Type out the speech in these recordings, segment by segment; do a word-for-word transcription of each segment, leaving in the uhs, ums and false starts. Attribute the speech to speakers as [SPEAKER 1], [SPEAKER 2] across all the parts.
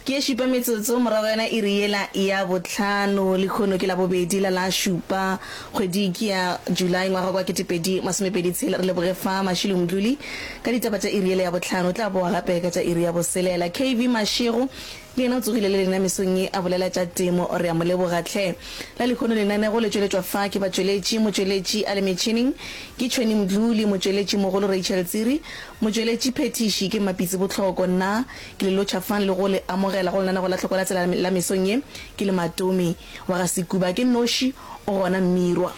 [SPEAKER 1] Ke ye šupa metsotso morago yona iri yela ya bohlano. Lehono ke Labobedi la la šupa kgwedi ke ya July ngwaga kwa ketepedi masomepedi tshela. Re leboge fa Mashilo Mdluli ka ditaba tša iri yela ya bohlano. O tla boa gape ka tša iri ya boselela. K V Mashego le yena o tsogile le lena mesong ye a bolela tša temo. Re a mo leboga hle. La lehono lenanego le tšweletšwa fa ke batšweletši, motšweletši a le metšhineng ke Tšhweni Mdluli, motšweletši mogolo Rachel Tsiri, motšweletši phethiši ke Mmapitsi Bohloko. Nna ke le lotšha fang le go le amogela go lenanego la Hloko la Tsela la mesong ye. Ke le Matome wa ga Sekuba, ke nnoši o gona Mmirwa.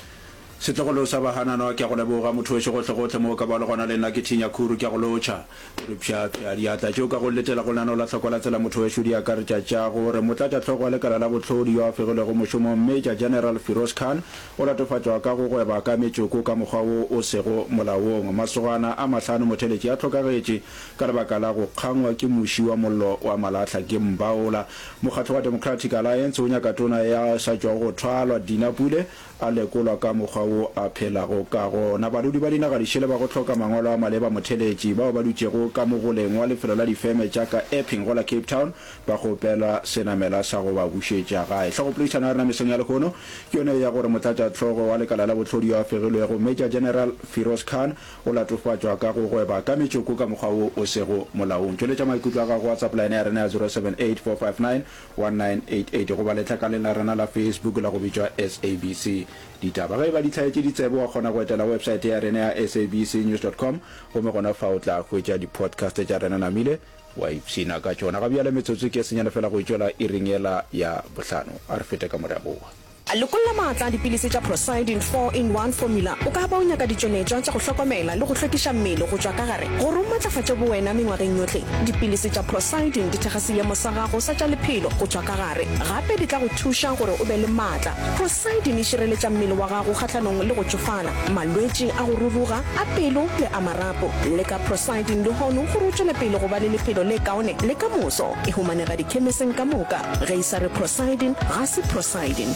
[SPEAKER 2] Setlogolo sa Bahananwa, ke a go leboga, motho wešo gohlegohle mo o ka ba le gona, le nna ke Thinya Khuru, ke a go lotšha. O re pšhapšha diatla tšeo ka go letela go lenaneo la Hloko la Tsela motho wešo di akaretša tša go re motlatšahlogo wa lekala la bohlodi yo a fegilwego mošomong Major General Firoz Khan o latofatšwa ka go gweba ka metšoko ka mokgwa wo o sego molaong. Masogana a mahlano motheletši a hlokagetše ka lebaka la go kgangwa ke muši wa mollo wa malahla ke mbaola. Mokgatlo wa Democratic Alliance o nyaka tona ya sa tšwago go thwalwa Dina Pule a lekolwa ka mokgwa wo a phelago ka gona. Badudi ba dinaga dišele ba go hloka mangwalo a maleba motheletši bao ba dutšego ka mogoleng wa lefelo la difeme tša ka Epping go la Cape Town ba kgopela senamela sa go ba bušetša gae. Hlogopoledišano ya rena mesong ya lehono ke yona ye ya gore motlatšahlogo wa lekala la bohlodi yo a fegilwego Major General Firoz Khan o latofatšwa ka go gweba ka metšoko ka mokgwa wo o sego molaong. Tšweletša maikutlo a gago go WhatsApp line ya rena ya zero seven eight four five nine one nine eight eight goba letlakaleng la rena la Facebook la go bitšwa S A B C Ditaba. Ge e ba di hlaetše ditsebe, wa kgona go etela websaete ya rena ya S A B C news dot com gomme gona fa o tla hwetša di-podcast tša rena namile wa ipshina ka tšona. Ga bjale metsotso ke e senyane fela go itšwela iring yela ya bohlano. A re fete ka mo re a boa.
[SPEAKER 3] Lokolla maatla a dipilisi tša Procyldin four in one Formula. O ka ba o nyaka ditšweletšwa tša go hlokomela le go hlwekiša mmele go tšwa ka gare gore o matlafatše bowena mengwageng yohle. Dipilisi tša Procyldin di thekga seemo sa gago sa tša lephelo go tšwa ka gare. Gape di tla go thuša gore o be le maatla. Procyldin e šireletša mmele wa gago kgahlanong le go tšofala, malwetši a go ruruga, a pelo le a marapo. Leka Procyldin lehono gore o tšwele pele go ba le lephelo le kaone le ka moso. E humanega dikhemiseng ka moka. Ge e sa re Procyldin, ga se Procyldin.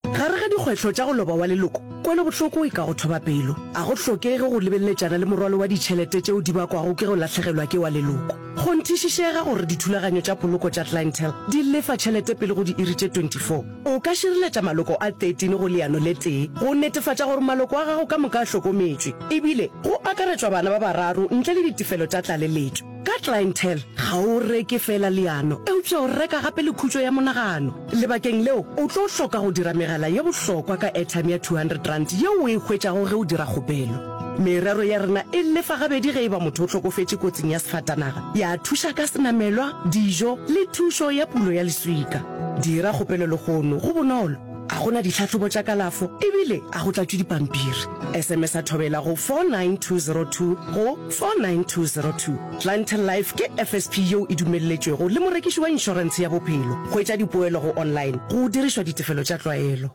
[SPEAKER 4] Gare ga dikgwetlho tša go loba wa leloko, kwelobohloko e ka go thoba pelo. A go hlokege go lebeleletšana le morwalo wa ditšhelete tšeo di bakwago ke go lahlegelwa ke wa leloko. Kgonthišišega gore dithulaganyo tša poloko tša Clientele di lefa tšhelete pele go diiri tše twenty four. O ka šireletša maloko a thirteen go leano le tee go netefatša gore maloko a gago ka moka a hlokometšwe, ebile go akaretšwa bana ba bararo ntle le ditefelo tša tlaleletšo. Ka Clientele, ga o reke feela leano, eupša o reka gape le khutšo ya monagano. Lebakeng leo, o tlo hloka go dira megala ye bohlokwa ka airtime ya two hundred rand yeo o e hwetšago ge o dira kgopelo. Merero ya rena e lefa gabedi ge e ba motho o hlokofetše kotsing ya sefatanaga, ya thuša ka senamelwa, dijo le thušo ya pulo ya leswika. Dira kgopelo lehono, go bonolo, ga go na ditlhahlobo tša kalafo ebile a go tlatšwe dipampiri. S M S a thobela go four nine two zero two go four nine two zero two. Clientele Life ke F S P yeo e dumelletšwego le morekiši wa inšorentshe ya bophelo. Hwetša dipoelo go online go dirišwa ditefelo tša tlwaelo.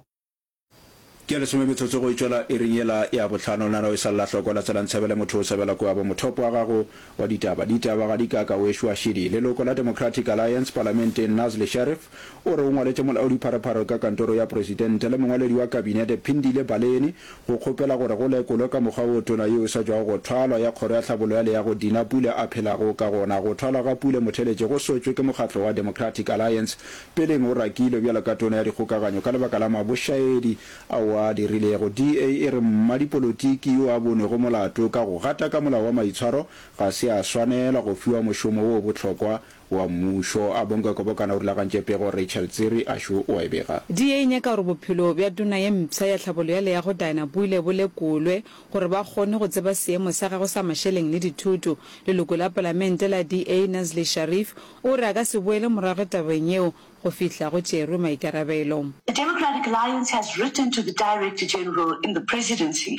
[SPEAKER 2] Ke ya lesome metsotso go e tšwela iring yela ya bohlano. Lenaneo e sa lla hloko la tsela ntshebele motho o sebela kua bo mothopo wa gago wa ditaba. Ditaba ga di ka ka wešo wa šidi. Leloko la Democratic Alliance palamenteng Nazli Sharif o re o ngwaletše molaodipharephare ka kantoro ya presidente le mongwaledi wa kabinete Phindile Baleni go kgopela gore go lekolwe ka mokgwa wo tona yeo e sa tšwago go thwalwa ya kgoro ya tlhabollo ya leago Dina Pule a phelago ka gona. Go thwalwa ga Pule motheletše go sotšwe ke mokgatlo wa Democratic Alliance peleng o rakilwe bjalo ka tona ya dikgokaganyo ka lebaka la mabošaedi ao a a dirilego. D A e re mmadipolotiki yo a bonwego molato ka go gataka molao wa maitshwaro ga se a swanela go fiwa mošomo wo bohlokwa wa mmušo. Abongwe Kobokana o rulagantše pego, Rachel Tsiri Ashu o a e bega.
[SPEAKER 5] D A e nyaka gore bophelo bja tona ye mpsha ya tlhabollo ya leago Dinah Pule bo lekolwe gore ba kgone go tseba seemo sa gagwe sa mašeleng le dithoto. Leloko la palamente la D A Nazli Sharif o re a ka se boele morago tabeng yeo go fihla go tšerwe maikarabelo.
[SPEAKER 6] The Democratic Alliance has written to the Director General in the Presidency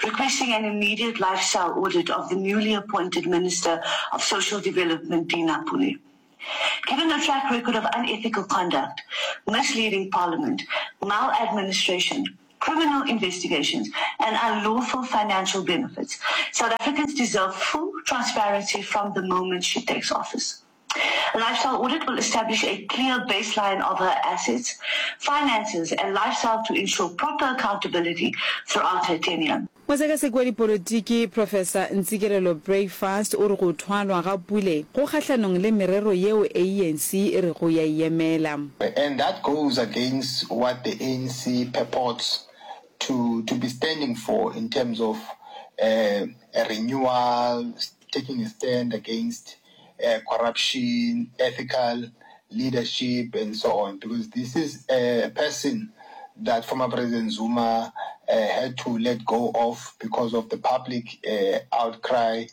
[SPEAKER 6] requesting an immediate lifestyle audit of the newly appointed Minister of Social Development Dina Pule. Given her track record of unethical conduct, misleading parliament, maladministration, criminal investigations and unlawful financial benefits, South Africans deserve full transparency from the moment she takes office. A lifestyle audit will establish a clear baseline of her assets, finances and lifestyle to ensure proper accountability throughout her tenure.
[SPEAKER 5] Mosekaseki wa dipolotiki Professor Ntsikelelo Breakfast o re go thwalwa ga Pule go kgahlanong le merero yeo A N C e rego ya e emela.
[SPEAKER 7] And that goes against what the A N C purports to, to be standing for in terms of, uh, a renewal, taking a stand against, uh, corruption, ethical leadership and so on, because this is a person that former President Zuma, uh, had to let go of because of the public, uh, outcry,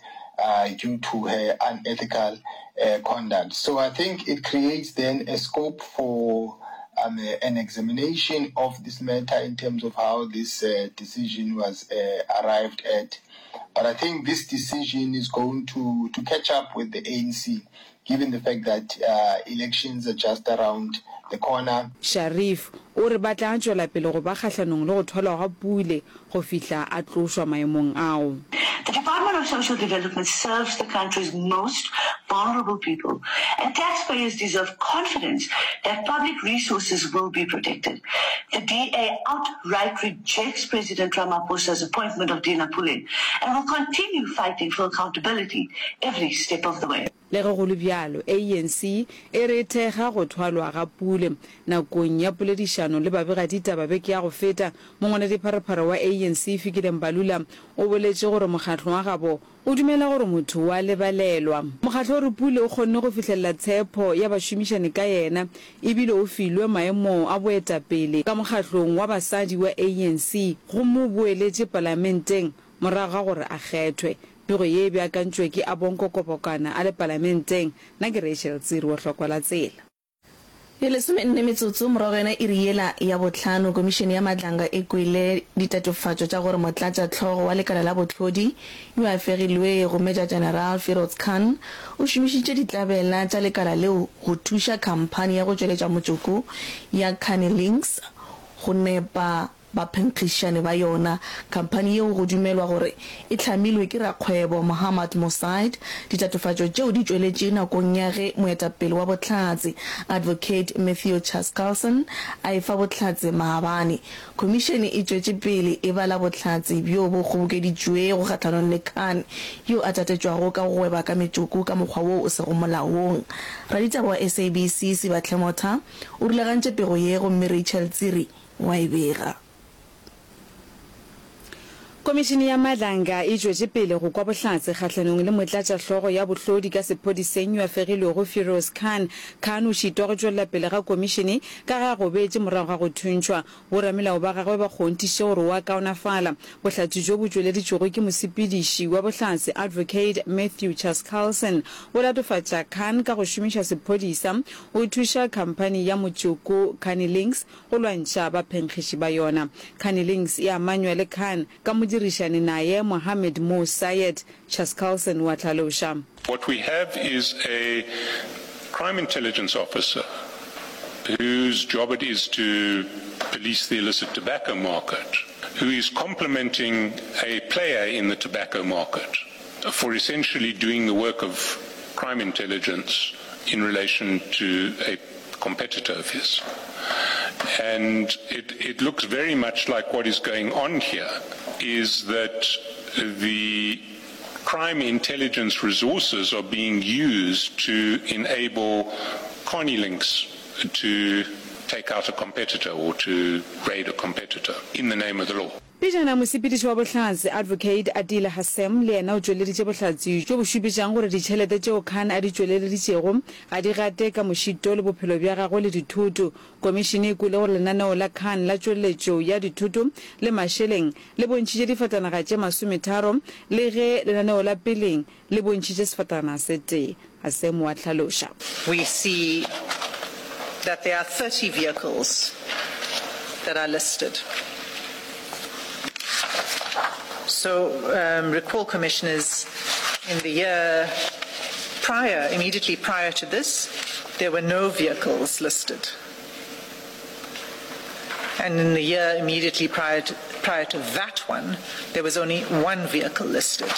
[SPEAKER 7] uh, due to her unethical, uh, conduct. So I think it creates then a scope for, um, uh, an examination of this matter in terms of how this, uh, decision was, uh, arrived at. But I think this decision is going to, to catch up with the A N C, given the fact that, uh, elections are just around the corner.
[SPEAKER 5] Sharif o re ba tla tšwela pele go ba kgahlanong le go thwalwa ga Pule go fihla a tlošwa maemong ao.
[SPEAKER 6] The Department of Social Development serves the country's most vulnerable people, and taxpayers deserve confidence that public resources will be protected. The D A outright rejects President Ramaphosa's appointment of Dina Pule and will continue fighting for accountability every step of the way.
[SPEAKER 5] Le ge go le bjalo, A N C e re thekga go thwalwa ga Pule. Nakong ya poledišano le babegaditaba beke ya go feta, mongwaledipharephare wa A N C Fikile Mbalula o boletše gore mokgatlo wa gabo o dumela gore motho wa lebalelwa. Mokgatlo o re Pule o kgonne go fihlelela tshepo ya bašomišani ka yena, ebile o filwe maemo a boetapele ka mokgatlong wa basadi wa A N C gomme o boeletše palamenteng morago ga gore a kgethwe. Pego ye e beakantšwe ke Abonko Kobokana a le palamenteng. Nna ke Rachel Tsiri wa Hlokwa la Tsela.
[SPEAKER 1] E lesomenne metsotso morago yona iri yela ya bohlano, Komišene ya Madlanga e kwele ditatofatšo tša gore motlatšahlogo wa lekala la bohlodi yo a fegilwego Major General Firoz Khan o šomišitše ditlabela tša lekala leo go thuša khamphani ya go tšweletša motšoko ya Carnilinx go nepa baphenkgišani ba yona. Khamphani yeo go dumelwa gore e hlamilwe ke rakgwebo Mohammad Mosaid. Ditatofatšo tšeo di tšweletše nakong ya ge moetapele wa bohlatse Advocate Matthew Chaskalson a efa bohlatse maabane. Khomišene e tšwetše pele e bala bohlatse bjo bo kgobokeditšwego kgahlanong le Khan, yo a tatetšwago ka go gweba ka metšoko ka mokgwa wo o sego molaong. Raditaba wa S A B C Sibahle Motha o rulagantše pego ye gomme Rachel Tsiri wa e bega.
[SPEAKER 5] Komišene ya Madlanga e tšwetše pele go kwa bohlatse kgahlanong le motlatšahlogo ya bohlodi ka sephodiseng yo a fegilwego Firoz Khan. Khan o šitwa go tšwelela pele ga komišene ka ge a gobetše morago ga go thuntšhwa. Boramelao ba gagwe ba kgonthišitše gore o a kaonafala. Bohlatse bjo bo tšweleditšwego ke mosepediši wa bohlatse Advocate Matthew Chaskalson bo latofatša Khan ka go šomiša sephodisa o thuša khamphani ya motšoko Carnilinx go lwantšha baphenkgiši ba yona. Carnilinx e amanywa le Khan ka modirišani naye Mohammed Mo Sayed. Chaskalson wa hlaloša.
[SPEAKER 8] What we have is a crime intelligence officer whose job it is to police the illicit tobacco market, who is complimenting a player in the tobacco market for essentially doing the work of crime intelligence in relation to a competitor of his. And it, it looks very much like what is going on here is that the crime intelligence resources are being used to enable Carnilinx to take out a competitor or to raid a competitor in the name of the law.
[SPEAKER 5] Pejana mosepediši wa bohlatse Advocate Adila Hassim le yena o tšweleditše bohlatse bjo bo šupetšang gore ditšhelete tšeo Khan a di tšweleleditšego ga di gate ka mošito le bophelo bja gagwe le dithoto. Komišene e kwele gore lenaneo la Khan la tšweletšo ya dithoto le mašeleng le bontšhitše difatanaga tše masometharo, le ge lenaneo la peleng le bontšhitše sefatanaga se tee. Hassim wa hlaloša.
[SPEAKER 9] We see that there are thirty vehicles that are listed. So, um, recall commissioners, in the year prior, immediately prior to this, there were no vehicles listed. And in the year immediately prior to, prior to that one, there was only one vehicle listed.